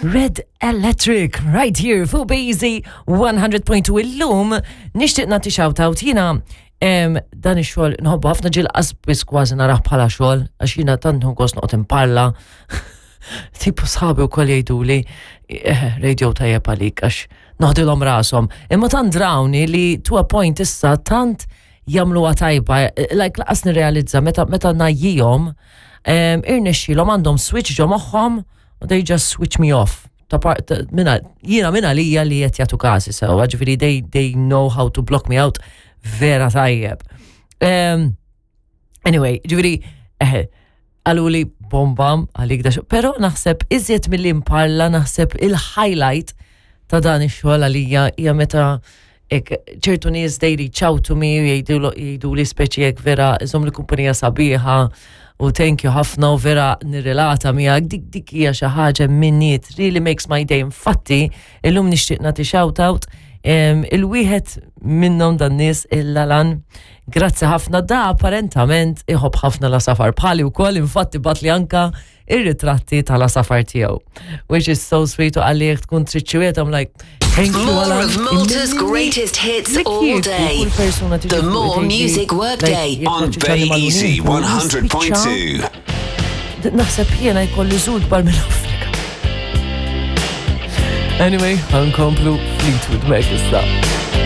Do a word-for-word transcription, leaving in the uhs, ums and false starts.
Red Electric, right here fuq B-Easy one hundred point two. Illum nixtieq nagħti shout-out. Jiena em, dan ix-xogħol nħobbu ħafna, ġieli qas kważi narah bħala xogħol għax jiena tant nieħu gost noqgħod imparla. Tipo sħabi wkoll jgħiduli, eh, radio tajjeb għalik għax noħdilhom rashom. Imma tant drawni li to a point issa tant jagħmluha tajba, eh, like lanqas nirrealizza meta meta ngħajjihom, irnexxilhom għandhom switch ġo moħħhom u they just switch me off. Ta' par- ta' minna, jiena minna lija li qed jagħtu kasi sewa, ġifieri they, they know how to block me out vera tajjeb. Um, anyway, ġifieri, eh, għalu li bombam għalik da, pero naħseb iżjed mill-li imparla, naħseb il-highlight ta' dan ix-xogħol għalija hija meta ek, ċertu nies they reach out to me jgħidu jgħidu li speċi jek vera iżomm li kumpanija sabiħa u thank you ħafna u vera nirrelata miegħek. dik dik hija xi ħaġa minni, it really makes my day. Infatti, illum nixtieq nagħti shout out em, il-wieħed minnhom dan nies, il-Lalan. Grazzi ħafna. Da apparentament iħobb ħafna l-għasafar bħali wkoll, infatti bagħatli anka ir-ritratti tal-għasafar tiegħu. Which is so sweet, u qalli jekk tkun trid xi wieħed, I'm like, "Thank you, More Alan." of Malta's greatest hits all day. The More Music Workday. On Bay Easy one hundred point two. Naħseb jiena jkolli żud bar minn Afrika. Anyway, ħa nkomplu Fleetwood Mac issa.